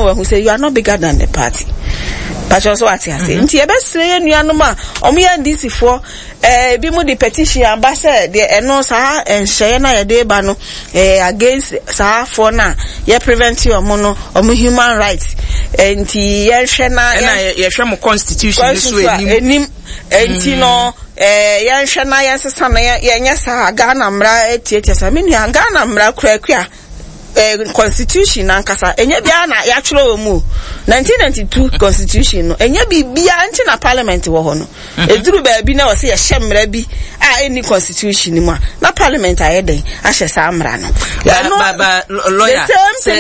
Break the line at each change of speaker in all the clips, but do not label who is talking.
wahu sɛ you are not bigger than the party. Pakyɛ so wate ase. Nti yɛbɛsrɛ yɛn nuanom a wɔn yɛ NDC foɔ, ɛɛ ebi mo de petition aba sɛ deɛ ɛno saa nhyɛeɛ no a yɛde ba no ɛɛ against saa foɔ no a yɛ prevent wɔn no wɔn human rights. Nti yɛnhwɛ na
ɛna yɛhwɛ mo constitution no so anim.
Anim. Nti no ɛɛ yɛnhwɛ na yɛnsesa no yɛnyɛ saa Ghana mmara tiatia saa. Me nua Ghana mmara kurakura. eh, constitution nankasa ɛnyɛ biara na yɛatwerɛ wɔ mu o 1992 constitution no ɛnyɛ biribiara nti na parliament wɔ hɔ no ɛduru mhm. baabi na wɔsɛ yɛhyɛ mmara bi a ɛnni constitution no mu a na parliament ayɛ dɛn ahyɛ saa mmara no
lawyer sɛ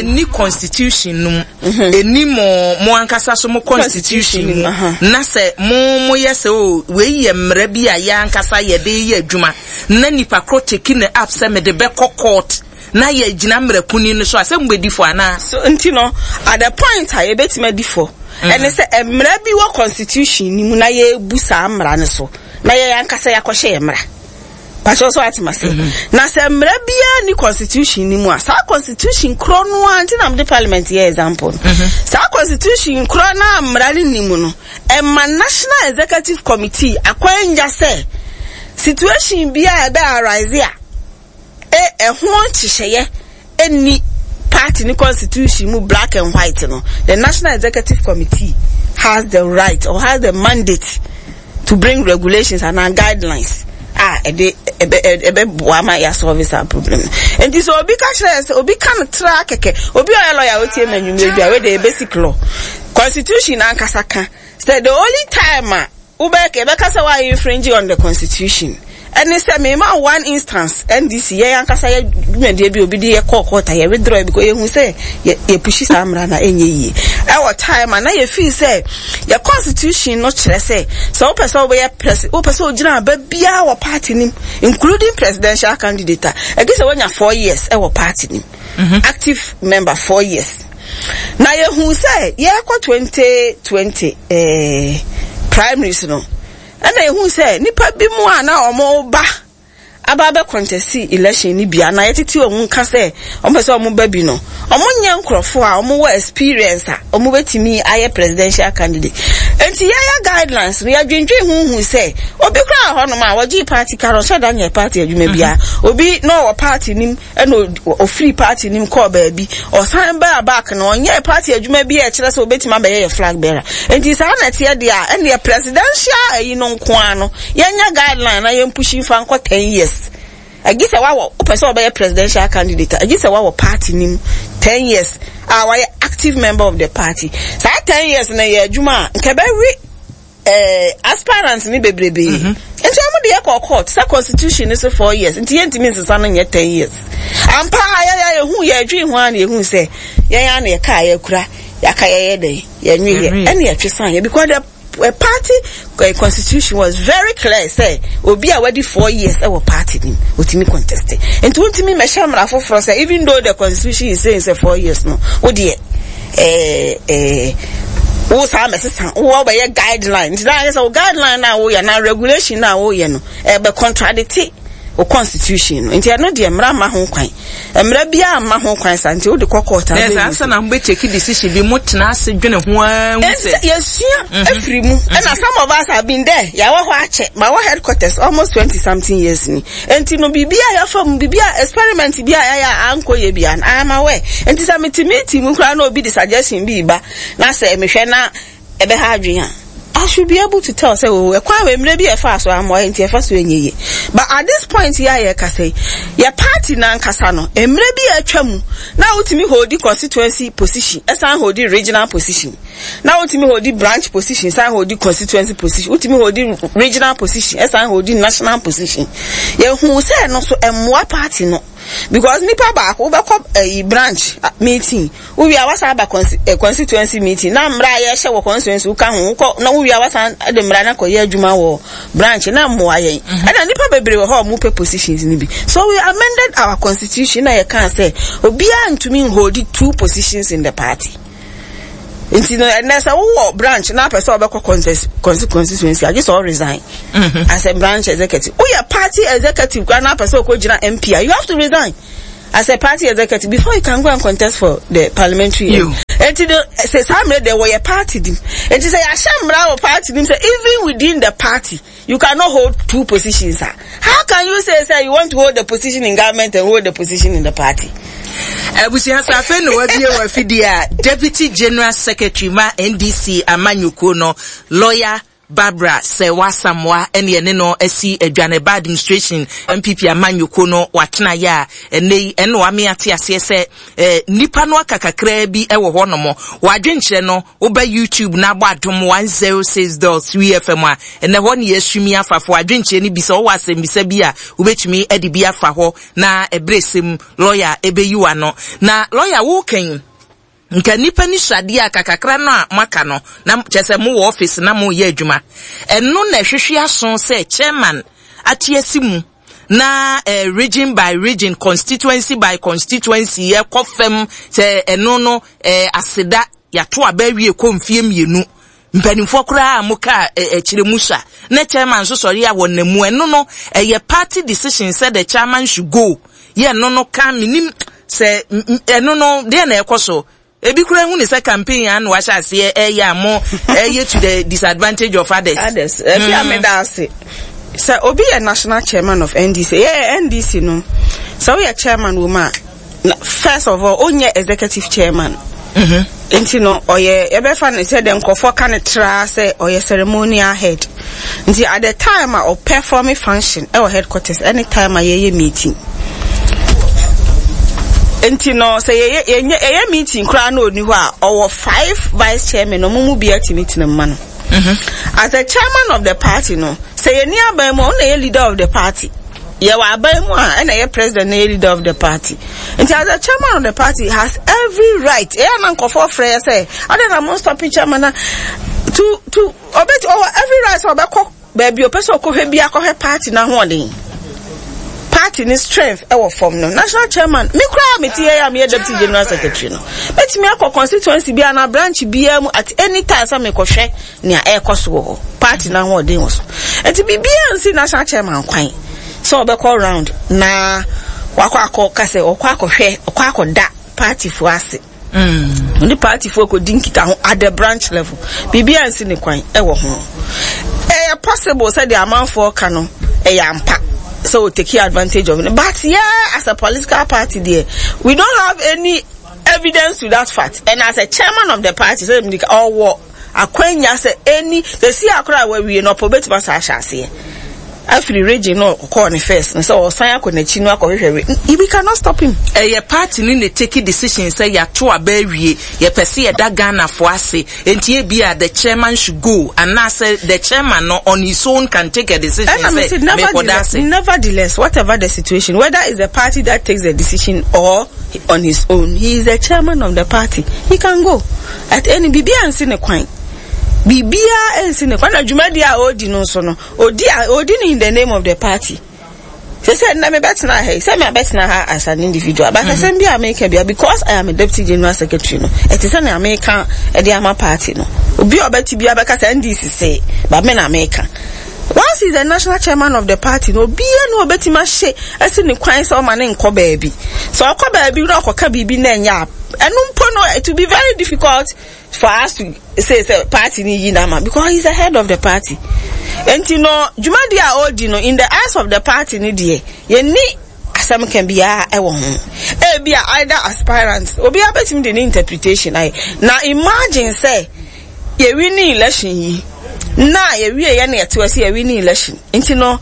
ɛnni constitution no mu mhm. ɛnni mo mo ankasa so mo constitution mu na sɛ mo moyɛ sɛ o oh, wei yɛ mmara bi a yɛ ankasa yɛde yɛ adwuma na nipa korɔ take no up sɛ mede bɛkɔ court na yɛagyina mmara kunini no so a, sɛ mobɛdi fɔ anaa?
So nti no, at the point a yɛbɛtumi adi fɔ ɛne sɛ mmara bi wɔ constitution no mu na yɛrebu saa mmara no so na yɛn ankasa yɛakɔhyɛ yɛn mmara. Pakyɛ so ate mase. Na sɛ mmara biara ni constitution no mu a, saa constitution korɔ no ara nti na mede parliament yɛ example no. Saa constitution korɔ no a mmara no ni mu no, Ɛma National Executive Committee akwanya sɛ situation bi a ɛbɛ arise a e ɛho nhyehyɛeɛ nni party ne constitution mu black and white no, the National Executive Committee has the right or has the mandate to bring regulations and guidelines a ɛde ɛbɛ ɛbɛboa ma yɛasɔlve saa problem no. Nti sɛ obi ka kyerɛ sɛ obi ka no tra kɛkɛ, obi a ɔyɛ lawyer a otie ma anwummerɛ bi a wei deɛ basic law. Constitution ankasa ka sɛ the only time a wobɛ yɛbɛka sɛ wa infringe on the constitution ɛne sɛ mema one instance NDC yɛn ankasa yɛ dwumadie bi obi de yɛ kɔɔ court a yɛ withdraw because yɛhu sɛ yɛ yɛ pushi saa mmara na ɛnyɛ yie ɛwɔ time a na yɛ feel sɛ yɛ constitution no kyerɛ sɛ sɛ wopɛ sɛ wobɛyɛ presi wopɛ sɛ wogyina aba biara wɔ party nim including presidential candidate a ɛgye sɛ woanya 4 years ɛwɔ party nim active member 4 years. Na yɛhuu sɛ yɛrekɔ 2020 eh, primaries no, ɛna yɛhuu sɛ nipa bi mu a na wɔn ba aba abɛ contest election no bi a na yɛtete wɔn nka sɛ wɔn pɛ sɛ wɔn ba bi no, wɔn nyɛ nkorɔfoɔ a wɔn wɔ experience a wɔn bɛtumi ayɛ presidential candidate. Nti yɛyɛ guidelines no, yɛdwendwen ho hu sɛ obi koraa wɔ hɔnom a wɔgye party card, ɔhyɛ da nyɛ party adwuma biara, obi na ɔwɔ party nim ɛna ɔfiri party nim kɔɔ baabi, ɔsan baa back no ɔnyɛɛ party adwuma bi a ɛkyerɛ sɛ ɔbɛtumi abɛyɛ yɛ flag bearer. Nti saa na ɛteɛ deɛ a, ɛnneɛ presidential ayi no nko ara no, yɛnyɛ guideline na yɛn pushi nfa nkɔ 10 years. Ɛgye sɛ wawɔ, wopɛ sɛ ɔbɛyɛ presidential candidate a, ɛgye sɛ wawɔ party nim 10 years a wayɛ active member of the party. Saa 10 years no yɛ adwuma a, nka ɛbɛwe aspirants ni bebrebe. Nti wɔn de yɛ kɔ court sɛ constitution ni so 4 years nti yɛntumi nsesa no nyɛ 10 years. Ampa yɛ yɛ yɛhu yɛ adwene ho a na yɛhu sɛ yɛn a na yɛka a yɛkura yɛaka yɛyɛ dɛ yɛnwe yɛ ɛna yɛtwe san yɛ because the party constitution was very clear sɛ obi a wadi 4 years ɛwɔ party nim otumi contest. Nti wontumi mmɛhyɛ mmara foforɔ sɛ even though the constitution is saying sɛ 4 years no, wo deɛ wo saa mɛsesa wo bɛyɛ guideline. Nti na ayɛ sɛ wo guideline na woyɛ na regulation na woyɛ no ɛbɛ contradict wo constitution no. Nti ɛno deɛ mmara mma ho kwan, mmara biara mma ho kwan sa nti wode kɔ court a
Na ɛsɛ ansa na mobɛ take decision bi, mo tena ase dwene ho ara hu sɛ
yɛsua afiri mu. Ɛna some of us have been there, yɛwɔ hɔ akyɛ. Ma wɔ headquarters almost 20 something years ni. Nti no biribi a yɛfa mu, biribi a experiment bi a yɛayɛ a ankɔ yɛ bia no, I am aware. Nti sɛ mete meeting mu koraa na obi de suggestion bi ba na sɛ mehwɛ na ɛbɛha adwene a, I should be able to tell sɛ oh, ɛkwan wɔ mmerɛ bi a ɛfa so amoa nti ɛfa so ɛnyɛ yie. But at this point yɛ a yɛkasa yi, yɛ party nankasa no, mmerɛ bi a atwa mu na wotumi hold constituency position, ɛsan hold regional position, na wotumi hold branch position, san hold constituency position, wotumi hold regional position, ɛsan hold national position. Yɛhu sɛ no so ɛmmoa party no because nipa baako wobɛkɔ ɛyi branch meeting, wowie a wasan aba constituency meeting na mmara a yɛhyɛ wɔ constituency woka ho, wokɔ na wowie a wasan de mmara no akɔyɛ adwuma wɔ branch na mmoa yɛn. Ɛna nipa bebree wɔ hɔ a wɔn pɛ positions no bi, so we amended our constitution na yɛka sɛ obiara ntumi hold two positions in the party. Nti no ɛnɛ sɛ wowɔ branch na apɛ sɛ ɔbɛkɔ contest constituency, agye sɛ ɔresign as a branch executive. Woyɛ party executive koraa na apɛ sɛ ɔkɔgyina MP a, you have to resign as a party executive before you can go and contest for the parliamentary.
You.
Enti no sɛ saa mmerɛ deɛ wɔyɛ party nim. Enti sɛ yɛahyɛ mmara wɔ party nim sɛ even within the party you cannot hold two positions a, how can you say sɛ you want to hold the position in government and hold the position in the party?
Abusua sɛ afei na wabie wɔ afidie a Deputy General Secretary ma NDC amanyɔkuo no, Lawyer Barbara Serwaa Asamoah ɛne yɛne no asi adwa no ɛba administration NPP amanyɔkuo no watenaeɛ a ɛnɛ yi ɛna wame ate aseɛ sɛ eh, nnipa no aka kakraa bi wɔ hɔ nom wadwenkyerɛ no woba YouTube na abɔ adom 106.3 FM a ɛnɛ hɔ ne yɛasumi afa fo adwenkyerɛ no bi sɛ wɔwɔ asɛmbisa bi a wobɛtumi de bi afa hɔ na ɛberɛ sɛm lɔya ɛbɛyi wano na lɔya wokan Nka nnipa ni sradeɛ a kakakra no a moaka no na kyerɛ sɛ mowɔ office na moreyɛ adwuma. Ɛno na ɛhwehwe aso sɛ chairman ate asi mu na eh, region by region, constituency by constituency ɛkɔ fam sɛ ɛno no eh, aseda yɛato aba awie kɔ mfie mmienu. Mpanimfoɔ koraa a mokaa eh, akyire mu sua na chairman nso sɔre a wɔnam mu ɛno no ɛyɛ party decision sɛ the chairman should go yɛ ɛno no ka menim Sɛ ɛno no deɛ na ɛkɔ so. Ebi koraa hu ne sɛ campaign a na wahyɛ aseɛ ɛyɛ a mo ɛyɛ to the disadvantage of others.
Others. Efi a meda ase. Sɛ obi yɛ national chairman of NDC, yɛ NDC no, sɛ woyɛ chairman wɔ mu a, first of all, onyɛ executive chairman. Mm-hmm. Nti no, ɔyɛ yɛbɛfa no sɛ deɛ nkurɔfoɔ ka no traa sɛ ɔyɛ ceremonial head. Nti at the time a ɔperform function ɛwɔ headquarters ɛne time a yɛyɛ meeting. Nti no sɛ yɛyɛ yɛnyɛ yɛyɛ meeting koraa na ɔni hɔ a ɔwɔ five vice chairman ɔmo mu biara tumi tena mu ma no. Mm-hmm. As the chairman of the party no sɛ yɛni aban mu a ɔno na ɛyɛ leader of the party. Yɛwɔ aban mu a ɛna ɛyɛ president na ɛyɛ leader of the party. Nti as the chairman of the party has every right. Ɛyɛ na nkɔfoɔ frɛ yɛ sɛ ɔdɛ na mo stop chairman na to to Ɔbɛti ɔwɔ every right sɛ ɔbɛkɔ baabi ɔpɛ sɛ ɔkɔhwɛ bi akɔhwɛ party n'ahoɔden. Party ne strength ɛwɔ fam no. National chairman, me koraa me ti yɛ a meyɛ deputy general secretary no. Mɛtumi akɔ constituency bi anaa branch biara mu at any time sɛ mekɔhwɛ nea ɛrekɔ so wɔ hɔ. Party n'ahoɔden wɔ so. Nti biribiara nsi national chairman kwan sɛ ɔbɛkɔ round na wakɔ akɔ ka sɛ ɔkɔ akɔhwɛ ɔkɔ akɔda party fo ase. Ɔne partyfoɔ kɔdi nkitaho at the branch level. Biribiara nsi ne kwan wɔ ho. Ɛyɛ possible sɛ deɛ amanfoɔ ka no ɛyɛ ampa sɛ o take advantage of it. But yeah, as a political party deɛ, we don't have any evidence to that fact. And as a chairman of the party, sɛ ɔwɔ Akwanya sɛ ɛni sɛsi a koraa wawie no ɔpɛ obetumi asan ahyɛ aseɛ afiri region no ɔkɔɔ ne first no sɛ ɔsan akɔ n'akyi no akɔhwehwɛ re we cannot stop him.
Ɛyɛ party no na take decision sɛ yɛato aba awie, yɛpɛ sɛ yɛda Ghanafoɔ ase, enti ebia the chairman should go anaasɛ the chairman no on his own can take a decision
Ɛna me
sɛ
se
mekɔda ase.
nevertheless whatever the situation whether it's the party that takes the decision or on his own he is the chairman of the party he can go. At any biribiara nsi ne kwan. Biribiara nsi ne kwan. Na dwumadi a ɔredi no nso no, ɔdi a ɔdi no in the name of the party. Sɛ sɛ nnɛ mebɛtena ha yi, sɛ mabɛtena ha as an individual, but mm-hmm. asɛm bi a meka bia because I am a deputy general secretary no, ɛte sɛ nea meka ɛde ama party no. Obi a ɔbɛte bi abɛka sɛ NDC se, but me na meka. Once he is the national chairman of the party no, obiara ni obetumi ahyɛ asi ne kwan sɛ ɔma ne nkɔ baabi. Sɛ ɔkɔ baabi na ɔkɔka biribi na ɛnyɛ a, ɛno mpo no it will be very difficult for us to say sɛ party ni yi n'ama because he is the head of the party. Nti no dwumadi a ɔredi no in the eyes of the party no deɛ yɛnni asɛm ka biara ɛwɔ ho. Ebi a either aspirant obiara betumi de ne interpretation ayɛ. Na imagine sɛ Yɛ winning election yi na yɛ wie yɛ na yɛte hɔ sɛ yɛ winning election nti no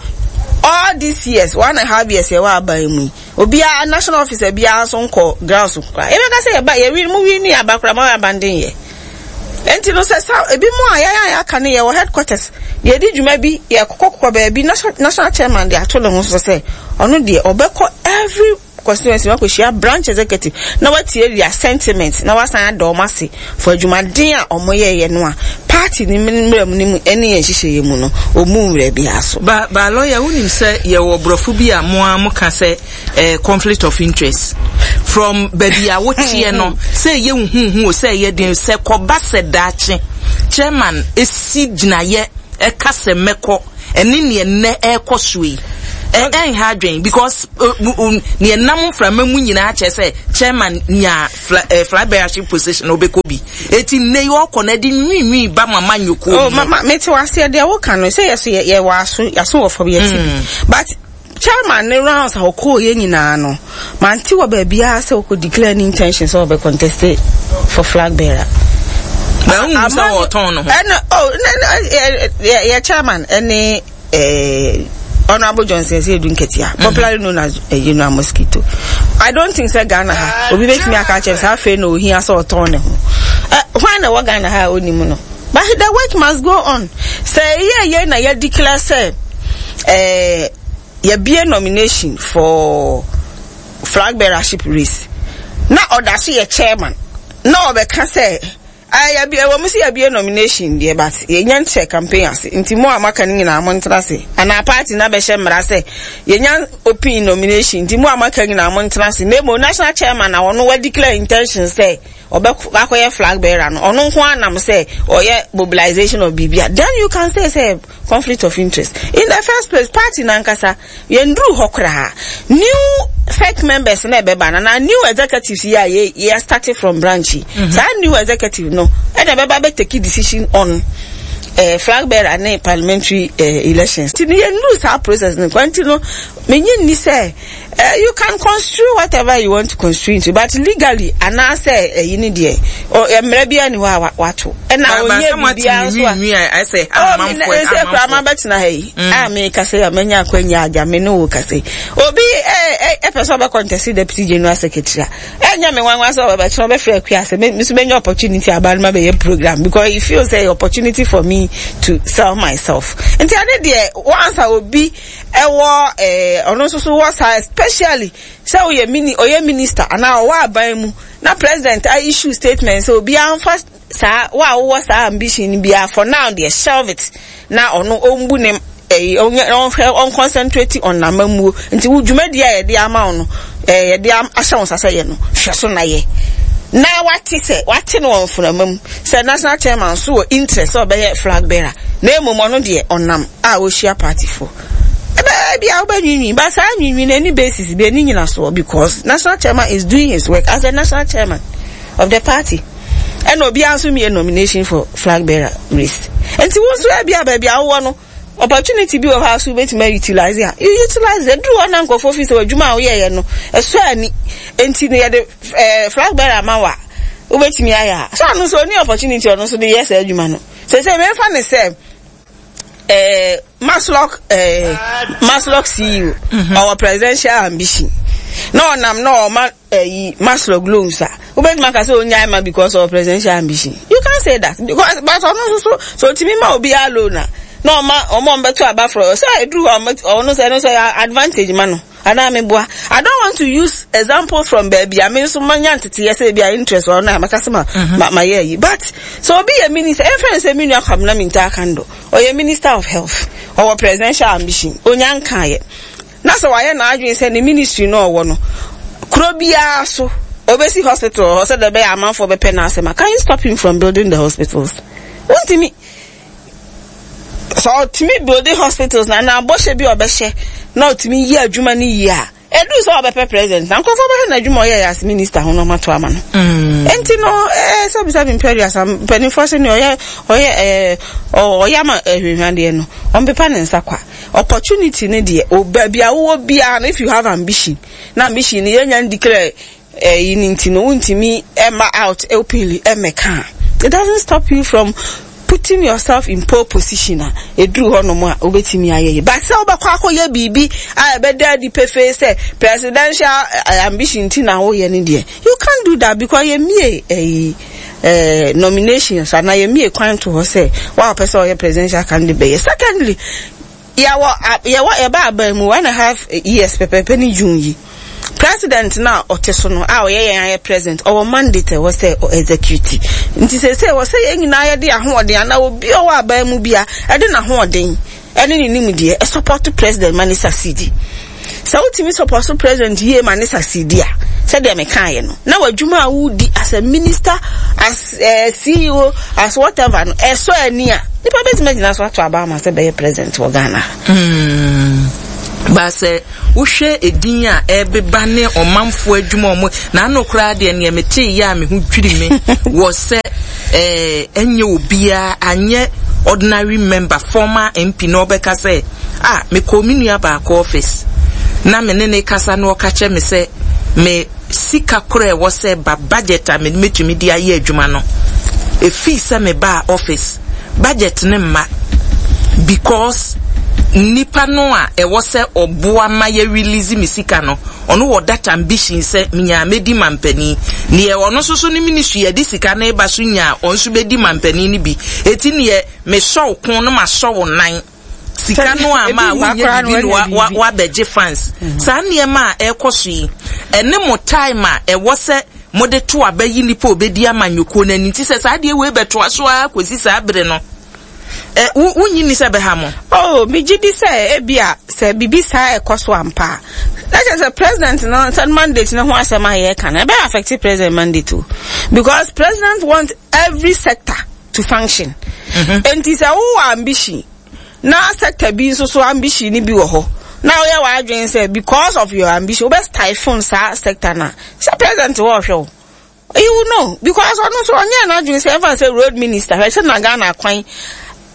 all these years one and a half years yɛwɔ aban mu yi obiara national officer biara nso nkɔ ground so koraa yɛbɛka sɛ yɛba yɛ win mu winning aba koraa ma abandon yɛ nti no sɛ sa ebi mu a yɛn a yɛaka no yɛwɔ headquarters yɛdi dwuma bi yɛkɔkɔkɔ baabi national chairman de ato ne ho so sɛ ɔno deɛ ɔbɛkɔ every constituency no akɔhyia branch executive na watie their sentiment na wasan ada wɔn ase for adwumaden a wɔyɛeɛ no a party no mmara mu no mu ne yɛn nhyehyɛeɛ mu no wɔmmu mmara biara so.
Ba ba lawyer wonim sɛ yɛwɔ borɔfo bi a mo ara mo ka sɛ eh, conflict of interest from baabi a woteɛ no sɛ ɛyɛ huhuhu o sɛ ɛyɛ den sɛ kɔba sɛ daakye chairman esi gyinayɛ ɛka sɛ mɛkɔ ɛne neɛ nnɛ ɛrekɔ so yi. Ɛnha adwen because nea ɛnam mframa mu nyinaa kyerɛ sɛ chairman nya flag bearership position na ɔbɛkɔ bi. Eti nnɛ yi ɔkɔ na ɛde nwiinwii ba mama nyokuo
Oh, mama, mete waseɛ deɛ woka no sɛ yɛ so yɛwɔ aso, yɛaso wɔ fam yɛte bi. Mm. But chairman ne rounds a ɔkɔɔ yɛ nyinaa no, mante wɔ baabiara sɛ ɔkɔ declare ne intention sɛ ɔbɛ contest for flag bearer.
Na wohu sɛ wɔtɔn no ho.
Ɛna, oh, yɛ chairman ɛne eh, Honorable Johnson Asiedu Nketia, mm. popularly known as eh, General Mosquito. I don't think sɛ Ghana ha obi betumi aka akyerɛ sɛ afei na ohia sɛ ɔtɔn ne ho. Eh, hwan na ɛwɔ Ghana ha a onim no? But the work must go on. Sɛ yɛ yɛ na yɛ declare sɛ eh, yɛbie nomination for flag bearership race na ɔda so yɛ chairman na ɔbɛka sɛ Ah yɛabue ɛwɔ mu sɛ yɛabue nomination deɛ but yɛnya nkyɛ campaign ase nti mo a moaka no nyinaa montena ase anaa party no abɛhyɛ mmara sɛ yɛnya open nomination nti mo a moaka nyinaa montena ase na mmom national chairman na ɔno wa declare intention sɛ ɔbɛ akɔyɛ flag bearer no ɔno nko ara nam sɛ ɔyɛ mobilization of biribi a then you can say sɛ conflict of interest in the first place party no ankasa Yɛnduruu hɔ koraa. New FEC members na ɛbɛba no anaa new executives yi a yɛ yɛ start from branch yi. Mm -hmm. Saa new executive no ɛna ɛbɛba bɛ take decision on eh, flag bearer ne parliamentary eh, elections. Nti no yɛnduruu saa process no kwa nti no menye nni sɛ eh, you can construe whatever you want to construe into but legally anaasɛ ɛyi ne deɛ mmerɛ biara ni hɔ a wato ɛna ɔnyɛ biribiara nso a oh, me sɛ koraa mabɛtena ha yi mm. a mekasa yi a manya akwanya agya me ne wo kasa yi obi ɛpɛ sɛ ɔbɛ contest deputy general secretary a ɛnyɛ me nwanwa sɛ ɔbɛkyerɛ ɔbɛfrɛ akua sɛ me nso menya opportunity aba no mabɛyɛ program because he feels sɛ opportunity for me to sell myself nti ade deɛ once a obi ɛwɔ ɛɛ ɔno nso so wɔ saa especially sɛ ɔyɛ mini ɔyɛ minister anaa ɔwɔ aban mu na president a issue statement sɛ obiara nfa Saa wo a wowɔ saa ambition no biara for now deɛ shelve it na ɔno ɔmbu ne ɛyi ɔnyɛ ɔnhwɛ ɔnconcentrate on n'amammuo nti wo dwumadie a yɛde ama wo no ɛɛ yɛde ahyɛ wo nsa sɛ yɛ no hwɛ so na yɛ na wate sɛ wate no wɔ mframa mu sɛ national chairman nso wɔ interest sɛ ɔbɛyɛ flag bearer na mmom ɔno deɛ ɔnam a ɔhyia party foɔ ɛbɛyɛ bi a wobɛnwiinwii but saa nwiinwii no ɛni basis bi ɛni nyinasoɔ because national chairman is doing his work as a national chairman of the party. Ɛna obiara nso mmie nomination for flag bearer race. Nti wo nso ebi a baabi a wowɔ no opportunity bi wɔ hɔ a so wobɛtumi a utilize a you utilize it. Ɛduru hɔ na nkurɔfoɔ fi sɛ w'adwuma a woyɛeɛ no ɛsɔ ani nti no yɛde eh, flag bearer ama wo a wobɛtumi ayɛ a so ɔno nso ɔni opportunity ɔno nso de yɛ saa adwuma no. Sɛ sɛ memfa ne sɛ eh, Masloc eh, Masloc CEO mm-hmm. ɔwɔ presidential ambition na ɔnam na ɔma ɛyi Masloc loans a wobɛtumi aka sɛ ɔnyae ma because of presidential ambition you can't say that because but ɔno nso so so ɔtumi ma obiara loan a na ɔma ɔma ɔmbɛto aba frɔ sɛ ɛduru hɔ ɔno sɛ ɛno sɛ advantage ma no anaa meboa I don't want to use examples from baabi a me nso manya nteteyɛ sɛ ebi a interest wɔ no a mɛka sɛ ma mhm. ma ma yɛ ayi but sɛ obi yɛ minister ɛmfa ne sɛ me nua Kwabena Mintah Akandoh ɔyɛ minister of health ɔwɔ presidential ambition onya nkaeɛ Na sɛ wayɛ n'adwene sɛ ne ministry no a ɔwɔ no, kuro biara so ɔbɛsi hospital wɔ hɔ sɛdeɛ ɛbɛyɛ amanfoɔ bɛpɛ n'asɛm a, can you stop him from building the hospitals? Wontumi. Sɛ ɔtumi building hospitals na na bɔhyɛ bi a ɔbɛhyɛ na ɔtumi yɛ adwuma no yie a, ɛduru sɛ ɔbɛpɛ president na nkurɔfoɔ bɛhwɛ n'adwuma ɔyɛ as minister ho na ɔmato ama no. Mm. Enti no, ɛɛ sɛ bisa mi mpɛ aduasa mpanimfoɔ sɛ nea ɔyɛ ɔyɛ ɛɛ ɔyɛ ama ahwehwadeɛ no, ɔmpepa ne nsa kwa. Opportunity no deɛ o baabi a wowɔ biara no if you have ambition na ambition no yɛnya ndeclare ɛyi no nti no wontumi ɛma out openly ɛmɛka a it doesn't stop you from putting yourself in pole position a ɛduru hɔ nom a wobɛtumi ayɛ yi but sɛ wobɛkɔ akɔyɛ biribi a ɛbɛda adi pefee sɛ presidential eh, ambition nti na woyɛ no deɛ you can't do that because yɛmmie ɛyi eh, nominations anaa yɛmmie kwan to hɔ sɛ wa ɔpɛ sɛ ɔyɛ presidential candidate bɛyɛ. Secondly, yɛwɔ yɛwɔ yɛba aban mu one and a half years pɛpɛɛpɛ ne June yi. President no a ɔte so no a ɔyɛ yɛn ayɛ president ɔwɔ mandate ɛwɔ sɛ ɔ execute. Nti sɛ sɛ wɔ sɛ yɛn nyinaa yɛde ahoɔden anaa obi a ɔwɔ aban mu bia ɛde n'ahoɔden ɛne ne nimdeɛ ɛsupɔto president ma ne succeed. Sɛ wotumi sɔpɔso president yie ma ne succeed a, sɛdeɛ mekaeɛ no, na w'adwuma a wodi as a minister, as a eh, CEO, as whatever no, ɛsɔ ani a, nipa bɛtumi agyina so ato aba ama sɛ bɛyɛ president wɔ Ghana.
Mm. Ba sɛ wohwɛ edin a ɛrebeba ne ɔmanfoɔ adwuma ɔmo na ano koraa deɛ neɛ metee yɛ a me ho dwiri me wɔ sɛ ɛɛ ɛnyɛ obiara anyɛ ordinary member former MP na ɔbɛka sɛ ah mekɔɔ me nua baako office na me ne ne kasa na ɔka kyerɛ me sɛ me sika korɔ a ɛwɔ sɛ ba budget a mede mɛtumi de ayɛ adwuma no ɛfii sɛ mebaa office budget no mma because nipa no a ɛwɔ sɛ ɔboa ma yɛ release me sika no ɔno wɔ that ambition sɛ menyaa mɛdi mampanin neɛ ɔno nso so ne ministry yɛde sika no ba so nyaa ɔno nso bɛdi mampanin no bi eti neɛ mesɔ wo kon no masɔ wo nan sika no a ma wonyɛ biribi no wabɛgye fans mhm. saa nneɛma a ɛrekɔ so yi ɛne mo time a ɛwɔ sɛ mode to aba yi nipa obedi amanyɔkuo no ani nti sɛ saa adeɛ wei bɛtoa so ara kɔsi saa bere no ɛ wo wonyi ni sɛ bɛha mo.
oh megye di sɛ ebi a sɛ biribi saa ɛkɔ so ampa a na kyerɛ sɛ president no sɛ mandate no ho asɛm a yɛreka no ɛbɛyɛ affect president mandate o because president want every sector to function. Enti sɛ wowɔ ambition na sector bi nso so ambition no bi wɔ hɔ na woyɛ w'adwene sɛ because of your ambition wobɛ stifle saa sector no a, sɛ president wɔ ɔhwɛ wo. You will know because ɔno nso ɔnyɛ n'adwene sɛ ɛmfa sɛ road minister hwɛ sɛ na Ghana kwan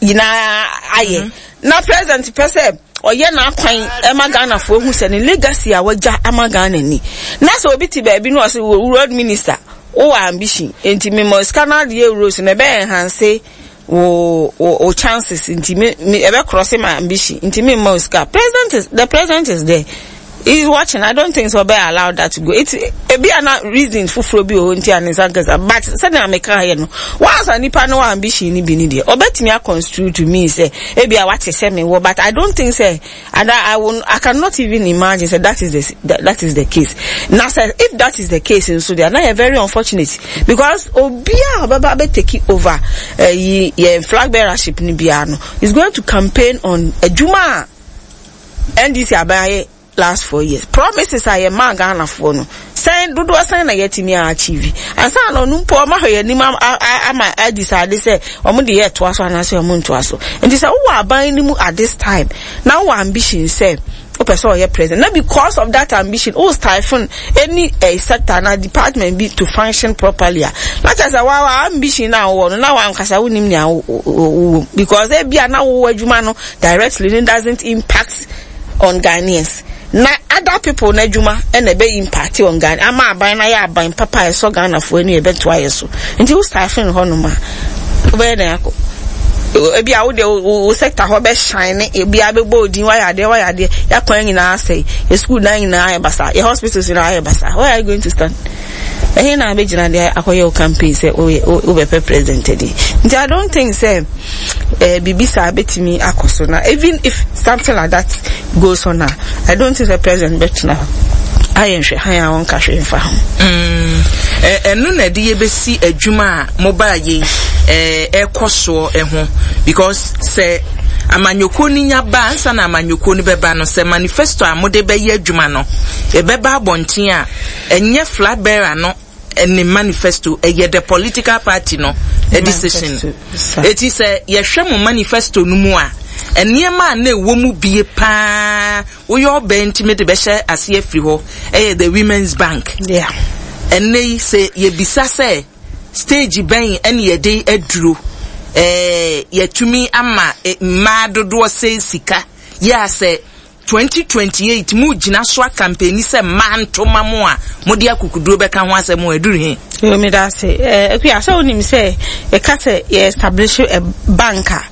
nyinaa ayɛ mm-hmm. na president pɛ sɛ ɔyɛ n'akwan ɛma Ghanafoɔ hu sɛ ne legacy a wagya ama Ghana ni na sɛ obi te baabi na ɔsɛ road minister Wowɔ ambition nti me ma sika no adeɛ rose no ɛbɛ enhance wo wo wo chances nti me me ɛbɛ cross my ambition nti me ma sika. President is the president is there. He is watching. I don't think so ɔbɛ allow that to go. It ebi ana reason foforɔ bi wɔ hɔ nti a ne nsa nkasa but sɛdeɛ meka yɛ no once a nipa no wɔ ambition no bi ne deɛ ɔbɛtumi aconstrue to me sɛ ebi a wate sɛ me wɔ but I don't think sɛ And I, I will, I cannot even imagine say that is the that, that is the case. Now say if that is the case in so they are now very unfortunate because obia obaba be take over uh, ye flag bearership ni bia no is going to campaign on adwuma NDC abaye last 4 years promises a yɛ maa Ghanafoɔ no sɛn dodoɔ sɛn na yɛatumi a achieve ansa na ɔno mpo ɔma hwɛ yɛn anim ama adecide sɛ wɔn de yɛ toa so anaasɛ wɔn ntoa so nti sɛ wowɔ aban no mu at this time na wowɔ ambition sɛ wopɛ sɛ ɔyɛ president na because of that ambition wo stifle any eh, sector na department bi to function properly a na kyerɛ sɛ wa ambition na wowɔ no na wankasa wonim nea wowɔ because ebia na wowɔ adwuma no directly no doesn't impact on Ghanaians na other people n'adwuma na ɛbɛ impact on Ghana ama aban no ayɛ aban papa a ɛsɔ Ghanafoɔ ani ɛbɛtoa yɛ so nti wo staffing hɔ nom a wobɛyɛ dɛn akɔ ebi a wode wo sector hɔ bɛ shine ebi a bɛbɔ odin wayɛ adeɛ wayɛ adeɛ yɛakwan nyinaa asɛe yɛ school dan nyinaa ayɛ basa yɛ hospitals nyinaa ayɛ basa where are you going to stand ɛhe na abɛgyina de akɔyɛ wo campaign sɛ wobɛpɛ president adi nti I don't think sɛ eh, biribi saa bɛtumi akɔ so na even if something like that goes on a I don't think the president bɛtena hɔ ayɛ nhwɛ han a wɔnka hwee mfa ho.
Mm, ɛno na ɛde yɛbɛsi adwuma a mobaa yei ɛkɔ soɔ ɛho because sɛ amanyɔkuo no nya ba ansa na amanyɔkuo no bɛba no sɛ manifesto a mode bɛyɛ adwuma no ɛbɛba abɔnten a ɛnyɛ flag bearer no ne manifesto ɛyɛ the political party no decision eti sɛ yɛhwɛ mo manifesto no mu a nneɛma a na ɛwɔ mu bie paa woyɛ ɔbɛn ntumi de bɛhyɛ aseɛ afiri hɔ ɛyɛ the women's bank ɛnɛ yi sɛ yɛbisa sɛ stage bɛn ɛne yɛde aduro ɛɛ yɛtumi ama mmaa dodoɔ sɛ sika yɛ asɛ 2028 mo gyina so akampani sɛ mmaa nto ma mo a mode akukuduro bɛka ho asɛm a ɛduru he?
Yo, meda ase. Eh, Akua, sɛ wonim sɛ yɛka sɛ yɛ establish a bank a,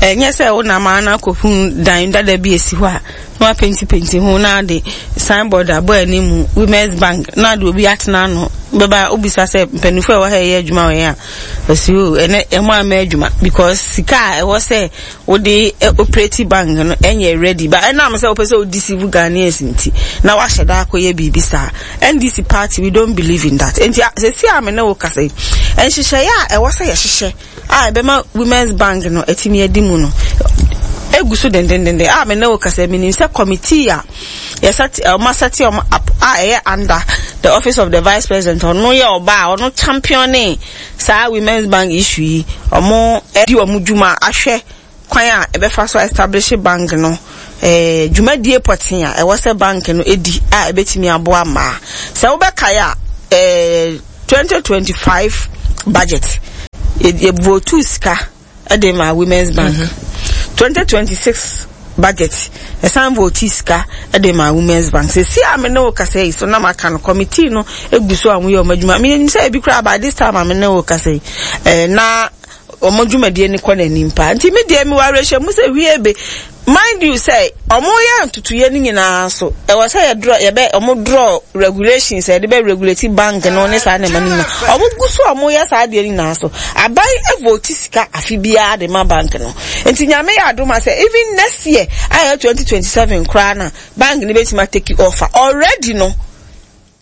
ɛnyɛ sɛ wonam ara na akɔhu dan dada bi esi hɔ a na wapentipenti ho na ade signboard abɔ anim Women's Bank na ade obi atena ano bɛba wobisa sɛ mpanimfoɔ a ɛwɔ ha yɛ adwuma wɔ yɛn a ɔsi o ɛnɛ ɛmo ama adwuma because sika a ɛwɔ sɛ wode operate bank no ɛnyɛ ready but ɛnam sɛ wopɛ sɛ wo deceive Ghanaians nti na wahyɛ da akɔyɛ biribi saa. NDC party we don't believe in that. Nti sɛsi a me ne wo kasa yi nhyehyɛeɛ a ɛwɔ sɛ yɛhyehyɛ a ɛbɛma women's bank no atumi adi mu no egu so dendendenden a me ne wo kasa menim sɛ committee a yɛsɛte ɔmo asɛte ɔmo up a ɛyɛ under the office of the vice president ɔno yɛ ɔbaa ɔno champione Saa women's bank issue yi ɔmo di ɔmo dwuma ahwɛ kwan a ɛbɛfa so establish bank no. eh, dwumadie pɔtee a ɛwɔ sɛ bank no di a ɛbɛtumi aboa mmaa. Sɛ wobɛkae a, eh, 2025 budget, yɛvotuu sika de maa Women's Bank. 2026 budget, ɛsan votii sika de maa Women's Bank. Sɛsi a me ne wo kasa yi so na maka no, committee no egu so a wɔyɛ wɔn adwuma. Menim sɛ ebi koraa by this time a me ne wo kasa yi, eh, na wɔn dwumadie no kɔ n'anim paa. Nti me deɛ mewɔ awerɛhyɛmu sɛ hwie be Mind you sɛ ɔmo yɛ ntotoyɛ no nyinaa nso ɛwɔ sɛ yɛ draw yɛbɛ ɔmo draw regulations a yɛde bɛ regulate bank no ne saa nneɛma no nyinaa. Ɔmo gu so a ɔmo yɛ saa adeɛ no nyinaa so aban vote sika afe biara de ma bank no. Nti Nyame yɛ adom a sɛ even next year a ɛyɛ 2027 koraa na bank no bɛtumi a take off a already no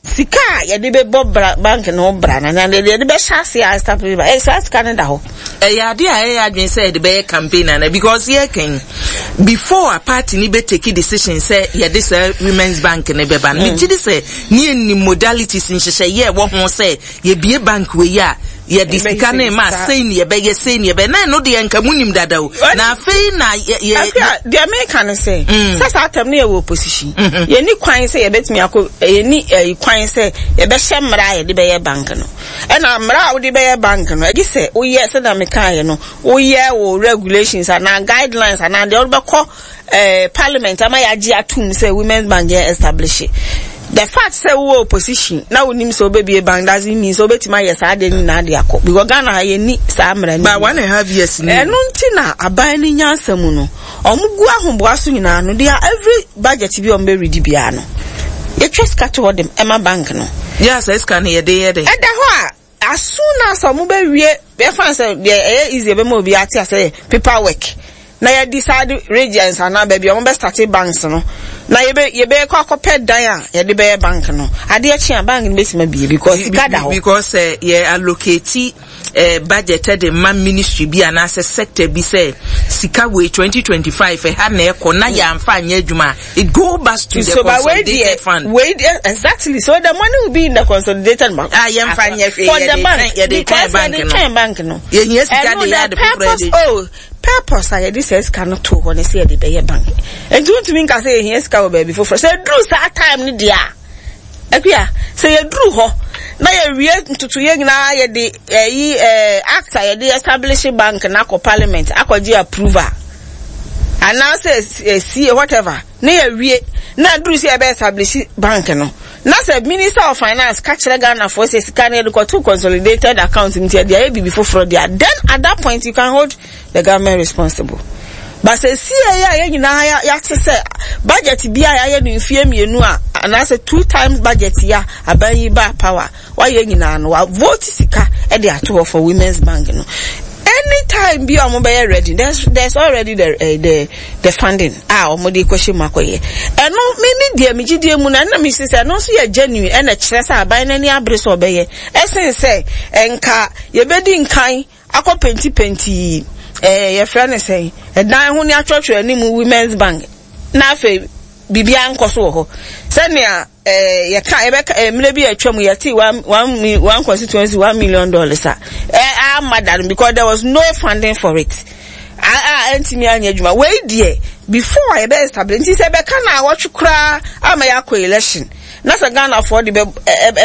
Sika a yɛde bɛbɔ bra bank no ho bra no anaa deɛ yɛde bɛhyɛ aseɛ a establish bank, eh, saa sika no da hɔ.
Ɛyɛ adeɛ a ɛyɛ adwene sɛ yɛde bɛyɛ campaign anaa because yɛreka yi before a party ni bɛ take decision sɛ yɛde saa women's bank no bɛba no megye di sɛ ne yɛnim modalities nhyehyɛeɛ ɛwɔ ho sɛ yɛbie bank wei a yɛde sika no ma sei ne yɛbɛyɛ sei ne yɛbɛyɛ na ɛno deɛ nka mu nim dada o na afei na yɛ yɛ.
Afia deɛ meka ne sɛ mm. sɛ saa atɛm no yɛwɔ opposition mm-hmm. yɛni kwan sɛ yɛbɛtumi akɔ yɛni ɛyi kwan sɛ yɛbɛhyɛ mmara a yɛde bɛyɛ bank no ɛna mmara a wode bɛyɛ bank no ɛgye sɛ woyɛ sɛdeɛ mekaeɛ no woyɛ wo regulations anaa guidelines anaa deɛ wode bɛkɔ eh, parliament ama yɛagye atum sɛ women's bank yɛ establish the fact sɛ wowɔ opposition na wonim sɛ wobɛbie bank doesn't mean sɛ wobɛtumi ayɛ saa adeɛ no nyinaa de akɔ because Ghana ha yɛnni saa mmara no.
Ba one and a half years ni.
Ɛno nti na aban no nyansa mu no wɔn gu ahoboa so nyinaa no they are every budget bi a wɔn bɛ redi biara no yɛtwa sika to hɔ de ɛma bank no.
Yɛ asɛ sika no yɛde yɛ dɛ.
Ɛda hɔ a As soon as ɔmo bɛ wie, yɛfa no sɛ deɛ ɛyɛ easy ɛbɛma obi ate ase yɛ paper work na yɛ decide regions anaa baabi a ɔmo bɛ start banks no na yɛbɛ yɛbɛ kɔ akɔpɛ dan a yɛde bɛyɛ bank no adeɛ kye a bank no bɛsi ma bie because sika da hɔ.
Because sɛ yɛ allocate eh, budget de ma ministry bi anaasɛ sector bi sɛ sika wei 2025 ɛha na ɛkɔ na yɛamfa anyɛ adwuma a It go back to the
so,
consolidated fund.
Wait, exactly. So the money will be in the consolidated bank.
Ah, yɛn fa nyɛ hwee.
For the bank.
Yɛ de twɛn bank no.
Because yɛ de twɛn bank no.
Yɛ hia sika de yɛ ade foforɔ
de. Oh, purpose a yɛde sɛ sika no to hɔ ne sɛ yɛde bɛyɛ bank. Nti wontumi nka sɛ yɛhia sika wɔ baabi foforɔ. Sɛ duru saa time no deɛ a, Akua, sɛ yɛduru hɔ na yɛwie ntotoyɛ nyinaa yɛde ɛyi ɛɛ act a yɛde establish bank no akɔ parliament akɔgye approval anaasɛ sie whatever na yɛwie na aduru sɛ yɛbɛ establish bank no na sɛ minister of finance ka kyerɛ Ghanafoɔ sɛ sika no yɛde kɔto consolidated account nti yɛde ayɛ biribi foforɔ deɛ then at that point you can hold the government responsible but sɛ sie yɛ a yɛn nyinaa yɛate sɛ budget bi a yɛayɛ no mfie mmienu a anaasɛ two times budget yi a aban yi ba power wayɛ nyinaa no wa vote sika de ato hɔ for women's bank no anytime bi a wɔn bɛyɛ ready there's there's already the uh, the the funding a wɔn de kɔhyɛ mu akɔyɛ ɛno me me deɛ me gyidie mu na ɛna me si sɛ ɛno nso yɛ genuine ɛna kyerɛ sɛ aban n'ani abere sɛ ɔbɛyɛ ɛsen sɛ nka yɛbɛdi nkan akɔ penti penti ɛɛ yɛfrɛ no sɛn ɛdan ho ne atwerɛtwerɛ anim women's bank na afei biribiara nkɔ so wɔ hɔ sɛnea ɛɛ yɛka yɛbɛka ɛɛ mmerɛ bi a atwa mu yɛte one one one constituency $1 million a ɛɛ ama da no because there was no funding for it a a ɛntumi anyɛ adwuma wei deɛ before a yɛbɛ establish nti sɛ ɛbɛka na awɔtwe koraa ama yɛakɔ election. Na sɛ Ghanafoɔ de bɛ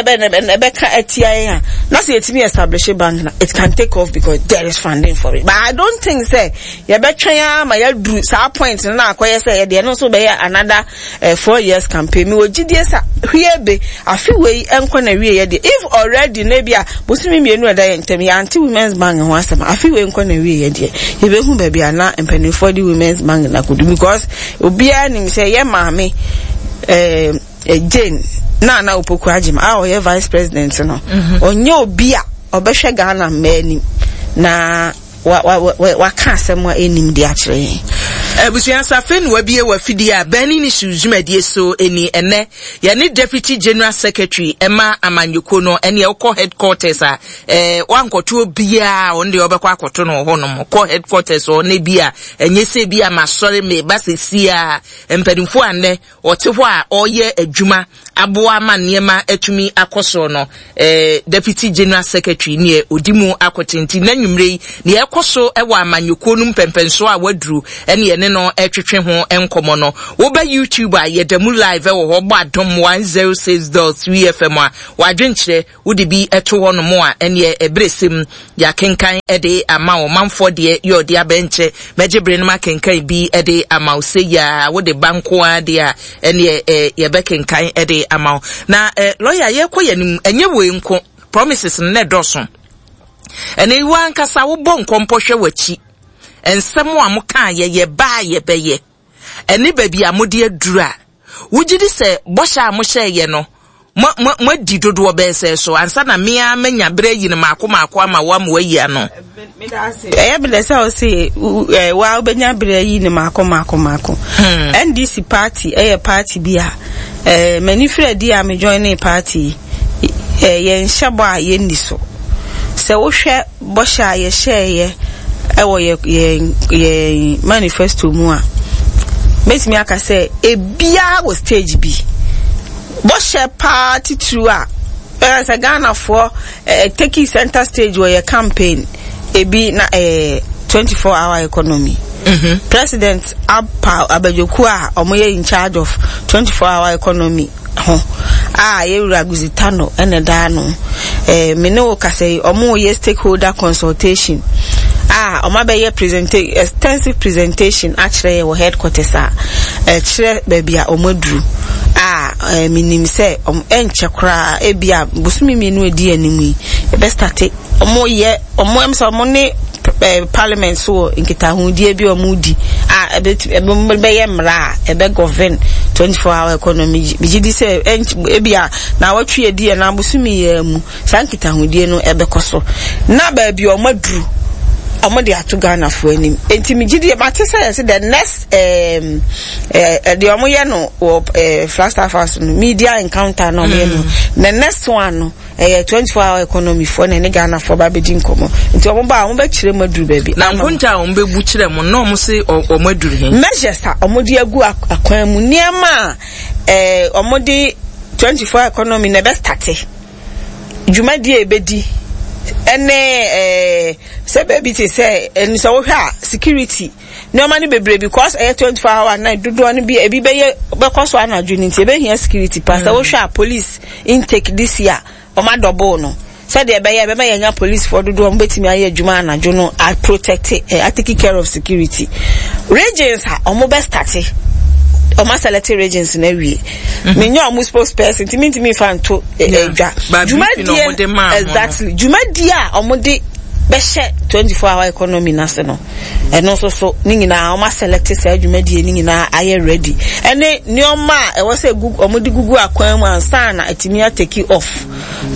ɛbɛ ɛbɛka atia yɛn a, na sɛ yɛtumi establish bank na it can take off because there is funding for it. But I don't think sɛ yɛbɛtwɛn ara ma yɛaduru saa point no na akɔyɛ sɛ yɛde ɛno nso bɛyɛ another eh, 4 years campaign. Mewɔ gyidie sa hwie be afe wei nkɔ na wie yɛ deɛ if already na ebi a bosome mmienu ɛda yɛn ntam yɛante women's bank ho asɛm afe wei nkɔ na wie yɛ deɛ yɛbɛhu baabi a na mpanimfoɔ de women's bank na kodu because Obiara nim sɛ yɛ maame eh, Jane Nana Opoku Agyemang a ɔyɛ vice president no, mhm. ɔnyɛ obi a ɔbɛhwɛ Ghana mmaa anim na waka asɛm a ɛnim de akyerɛ yɛn.
Abusua safe na wabie wafidie a Burning Issues dwumadie so ni ɛnɛ yɛne Deputy General Secretary ɛma amanyɔkuo no ɛne ɛwokɔ headquarters a ɛɛ wankɔto obiara ɔno deɛ ɔbɛkɔ akɔto no wɔ hɔnom kɔ headquarters hɔ na bi a ɛnyɛ sɛ bi a masɔre meba sɛsi a mpanimfoɔ a nnɛ ɔte hɔ a ɔreyɛ adwuma. aboa ama nneɛma atumi akɔ soɔ no, eh, Deputy General Secretary neɛ ɔdi mu akote nti na nwummerɛ yi neɛ ɛkɔ so wɔ amanyɔkuo no mpɛmpɛnsoɔ a waduru ɛne yɛne no ɛtwetwe ho nkɔmmɔ no. Woba YouTube a yɛda mu live wɔ hɔ bɔ Adom 106.3 FM a wadwenkyerɛ Wode bi to hɔ nom a, ɛneɛ ɛberɛ sɛm yɛakenkan de ama wo. Manfoɔ deɛ yɛ ɔde abɛ nkyɛ. Mɛgye bere no makenkan bi de ama wo. Sɛ yia wode ba nko ara deɛ a, ɛneɛ eh, yɛbɛkenkan de ama wo. Na eh, lɔya yɛkɔ yɛn anim, ɛnyɛ wei nko, promises no na ɛdɔɔso. Ɛnɛ yi w'ankasa wobɔ nkɔmpɔ hwɛ w'akyi. Nsɛm a mokaa yɛ yɛbaa yɛbɛyɛ. Ɛne baabi a mode aduru a, wogye di sɛ bɔhyɛ a mohyɛeɛ no, mo, mo, moadi dodoɔ bɛyɛ sɛɛ so ansa na me ara manya berɛ ayi no maako maako ama wo ama woayi ano?
Ɛyɛ me dɛ sɛ wo se wa wobɛnya berɛ ayi no maako maako maako. NDC hmm. party ɛyɛ party bi a eh, m'ani firi adi a me join party yi eh, yɛnhyɛ bɔ a yɛnni so. Sɛ wohwɛ Bɔhyɛ a yɛhyɛeɛ wɔ yɛn yɛn manifesto mu a, mɛtumi aka sɛ ebiara wɔ stage bi. Bɔhyɛ paa titiriw a ɛyɛ sɛ Ghanafoɔ eh, take center stage wɔ yɛ campaign ebi na ɛyɛ eh, 24 hour economy. Mm -hmm. President apa abadwokuo a wɔyɛ in charge of 24 hour economy ho a yɛ wura Guzitano na ɛda ano. Eh, me ne wo kasa yi, ɔmo yɛ stakeholder consultation a ɔmo abɛyɛ presenta extensive presentation akyerɛ yɛ wɔ headquarters a ɛkyerɛ baabi a ɔmo aduru a eh, menim sɛ ɔmo ɛnkyɛ koraa ebi a bosome mmienu edi anim yi yɛbɛstate Ɔmo yɛ ɔmo ɛm sɛ ɔmo ne eh, parliament so wɔ nkitahodie bi a ɔmo di a ɛbɛtu ɛbɛyɛ mmara a ɛbɛ govern 24 hour economy megye di sɛ ebi a na awɔtwe edi ɛna abosomi yɛ mu saa nkitahodie no ɛbɛkɔ so na baabi ɔmo aduru ɔmo de ato Ghanafoɔ anim nti megye di mate sɛ yɛsɛ the next ɛɛm ɛɛ deɛ ɔmo yɛ no wɔ ɛɛ Flagstaff House no media encounter na ɔmo yɛ no mm. the next one no. Ɛyɛ 24 hour economy foɔ na ɛne Ghana foɔ ba bɛdi nkɔmɔ. Nti wɔn ba a wɔn bɛkyerɛ mu aduru baabi.
Na nkonta a wɔn bɛbu kyerɛ mo na wɔn se wɔn aduru he?
Measures a wɔn de agu akwan mu, nneɛma a ɛɛ wɔn de 24 hour economy na ɛbɛ starte, dwumadie a ɛbɛdi ɛne ɛɛ sɛ baabi te sɛ ɛnu sɛ wohwɛ a security. Nneɛma no bebree because ɛyɛ 24 hour night dodoɔ no bi ebi bɛyɛ bɛkɔ so anadwo no nti ebɛhia security pa sɛ wohwɛ a police intake this year wɔn adɔboo no sɛdeɛ ɛbɛyɛ ɛbɛma yɛnya policefoɔ dodoɔ wɔn bɛtumi ayɛ adwuma anadwo no a protect eh, a take care of security regions a wɔn bɛ starte wɔn aselect regions no awie mhm. menyɛ wɔn spokesperson nti mintumi nfa nto adwa eh, dwumadie exactly dwumadie a wɔn de bɛhyɛ 24 hour economy n'ase no. Ɛno nso so ne nyinaa wɔn asɛlɛkte saa dwumadie no nyinaa ayɛ ready ɛne nneɛma a ɛwɔ sɛ gu wɔn de gugu akwan mu ansa na atumi ateki off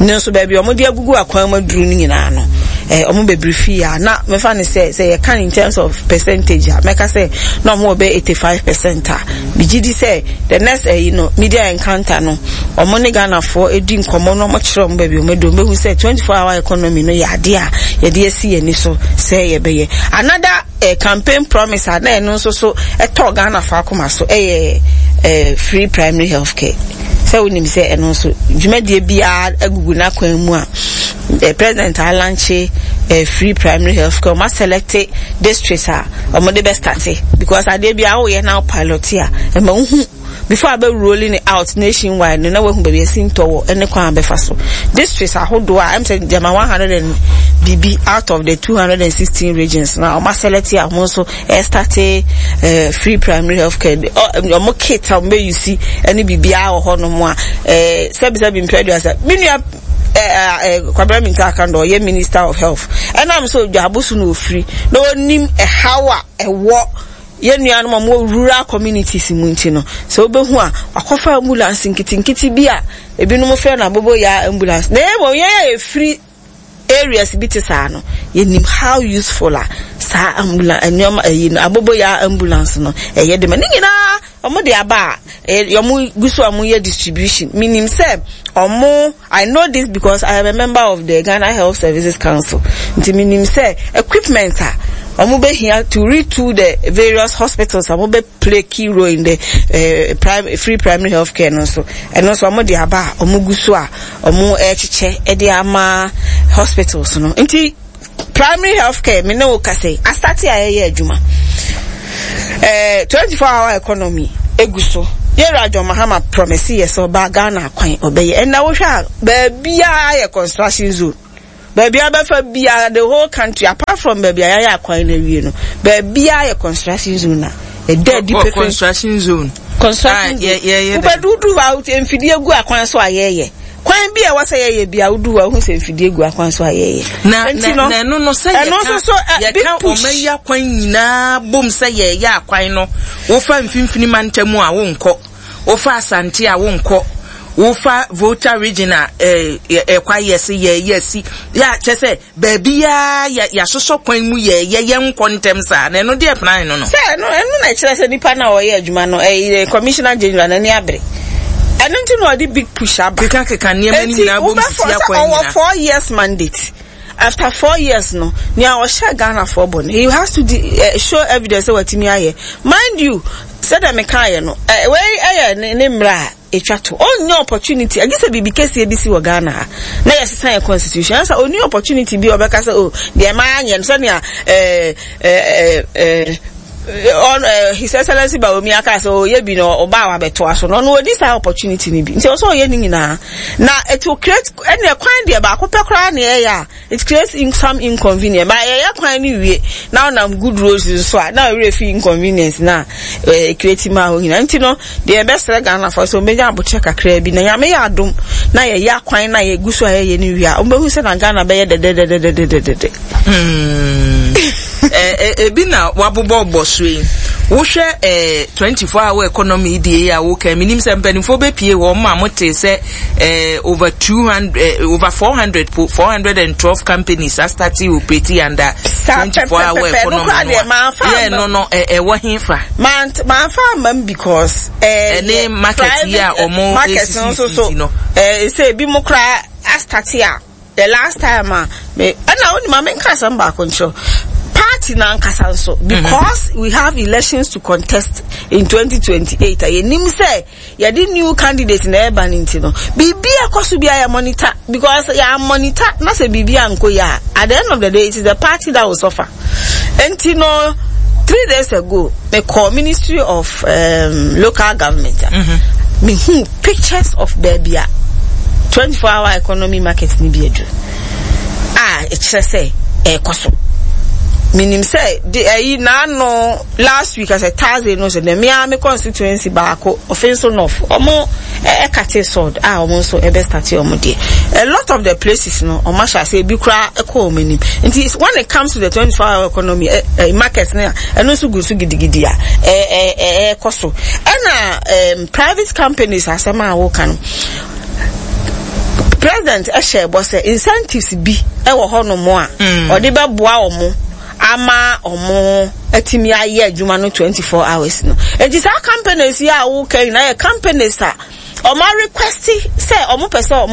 ne nso baabi wɔn de agugu akwan mu aduru no nyinaa no ɛɛ wɔn bɛbiri fi a na mɛfa ne sɛ sɛ yɛka in terms of percentage a mɛka sɛ na wɔn wɔ bɛ 85% a megye di sɛ the next ɛyi no media encounter no wɔn ne Ghanafoɔ edi nkɔmɔ na wɔn kyerɛ wɔn baabi wɔn adu wɔn bɛhu sɛ 24 hour economy no yɛ adeɛ a yɛde asi yɛn ani so sɛ yɛbɛyɛ another eh, campaign promise a na ɛno nso so ɛtɔ Ghanafoɔ akoma so ɛyɛ eh, free primary health care sɛ wonim sɛ ɛno nso dwumadie biara agugu n'akwan mu a eh, president alankye eh, free primary health care wɔn aselect districts a wɔn de bɛ starte because adeɛ bi a woyɛ na pilot a ɛma wohu before abɛ rolling it out nationwide no na wahu baabi asi ntɔ wɔ ɛne kwan abɛfa so districts ahodoɔ a ɛm sɛ gyama 100 and biribi out of the 216 regions na wɔn aselect a wɔn nso ɛstarte eh, free primary health care wɔn kit a wɔn bɛ use ɛne biribiara wɔ hɔnom a eh, sɛbisɛbi mpɛ aduasa me nua Kwabena Mintah Akandoh ɔyɛ Minister of Health ɛnam sɛ Odwaabo so na ofiri na onim ɛhaw a ɛwɔ yɛn nuanom a wɔwɔ rural communities mu nti no sɛ wobɛhu a wakɔfa ambulance nketenkete bi a ebinom frɛ no aboboyaa ambulance na mmom yɛn a yɛfiri areas bi te saa no yɛnim how useful a saa ambulance nneɛma ɛyi no aboboyaa ambulance no ɛyɛ de ma ne nyinaa. Ɔmo de aba a, ɔmo gu so a ɔmo yɛ distribution. Menim sɛ ɔmo, I know this because I am a member of the Ghana Health Services Council. Nti menim sɛ equipment a ɔmo bɛhia to retool the various hospitals a ɔmo bɛ play key role in the eh, free primary health care no nso, ɛno nso ɔmo de aba a ɔmo gu so a ɔmo ɛkyekyɛ de ama hospitals no. Nti Primary health care me ne wo kasa yi asate a yɛyɛ adwuma eh, 24 hour economy egu so yɛwura John Mahama promise yɛ sɛ ɔbaa Ghana akwan ɔbɛyɛ ɛnna wohwɛ a baabiara yɛ construction zone baabi a bɛfa biara the whole country apart from baabi a yɛayɛ akwan no awie no baabiara yɛ construction zone a ɛda adi pefee
construction zone
construction zone wobɛdudu hɔ a mfidie gu akwan so a yɛyɛ Kwan bi a ɛwɔ sɛ yɛyɛ bi a wodu hɔ a wohu sɛ mfidie gu akwan so a yɛyɛ.
Na na na ɛno no sɛ yɛka so, yɛka ɔma yi akwan nyinaa bom sɛ yɛyɛ akwan no, wofa mfimfini mantam a wonkɔ, wofa Asante a wonkɔ, wofa Volta region a ɛkwa yɛ se yɛyɛ si yɛ kyɛ sɛ Baabiara yɛ yɛasosɔ kwan mu yɛ yɛ yɛnkɔ ntɛm saa na ɛno deɛ plan no no.
Sɛ ɛno ɛno na ɛkyerɛ sɛ nipa no a ɔyɛ adwuma no ɛyɛ commissioner general n'ani abere ɛno nti na ɔde big push aba.
Keka keka nneɛma no nyinaa bom sisi akwan nyinaa.
Ɔwɔ 4 years mandate after 4 years no nea ɔhyɛ Ghana foɔ bɔ no he has to di, show evidence sɛ watumi ayɛ. Mind you, sɛdeɛ mekaeɛ no wei ɛyɛ ne ne mmerɛ a etwa to. Ɔnnya opportunity, agye sɛ biribi kɛseɛ bi si wɔ Ghana ha na yɛsesa yɛn constitution. Ɛnsa ɔnni opportunity bi a ɔbɛka sɛ oh deɛ manyɛ no sɛnea ɛɛ ɛɛ ɛɛ ɔn ɛɛ His Excellency Bawumia aka sɛ ɔyɛ bi na ɔba a wabɛtoa so no, ɔno ɔdi saa opportunity no bi. Nti ɔsɛ ɔyɛ ne nyinaa. Na it will create, ɛnna kwan deɛ baako pɛ koraa na ɛyɛ a It creates in some inconvenience but yɛyɛ kwan no wie na wonam good roads nso a na werɛ fi inconvenience na eh, create ma hɔ nyinaa nti no deɛ yɛbɛsrɛ Ghanafoɔ sɛ wɔbɛnya abokyɛ kakraa bi na Nyame yɛ adom na yɛyɛ akwan na yɛgu so a yɛyɛ no wie a wɔbɛhu sɛ na Ghana bɛyɛ dɛdɛdɛdɛdɛdɛdɛ.
Hmm. Eh, eh, ebi na wabobɔ bɔ so yi wohwɛ eh, 24 hour economy deɛ yi a woka menim sɛ mpanimfoɔ bɛpie hɔ ma mote sɛ eh, over 200 eh, over 400 po 412 companies are starting operating under 24 hour economy no a yɛ no no ɛwɔ he fa
manfa amam because
ɛne market yi a ɔmo esisi no
sɛ ebi mo koraa astate a the last time a me ɛna wo ma menka asɛm baako nkyerɛ party na ankasa nso because we have elections to contest in 2028 a yɛnim sɛ yɛde new candidate na ɛreba no nti no biribi a ɛkɔ so biara yɛ monitor because yɛ monitor na sɛ biribi ankɔ yie a, at the end of the day it is the party that will suffer. Nti no 3 days ago me kɔ Ministry of Local Government a mm-hmm. me hu pictures of baabi a 24 hour economy market ni bi aduru a ɛkyerɛ sɛ ɛrekɔ so. Menim sɛ de ɛyi n'ano last week asɛ Thursday no sɛ dɛ mea me constituency baako Offinso North ɔmo ɛkate sod a ɔmo nso ɛbɛ start ɔmo deɛ. A lot of the places no ɔmo ahyɛ ase, ebi koraa ɛkɔ ɔmo anim. Nti when it comes to the 24 hour economy ɛ ɛ market no a ɛno nso gu so gidigidi a ɛ ɛ ɛ ɛkɔ so. Ɛna private companies asɛm a woka no, president ɛhyɛ bɔ sɛ incentives bi ɛwɔ hɔnom a ɔde bɛboa ɔmo ama ɔmo atumi ayɛ adwuma no 24 hours no. Enti saa companies yi a woka nyinaa yɛ companies a ɔmo request sɛ ɔmo pɛ sɛ ɔmo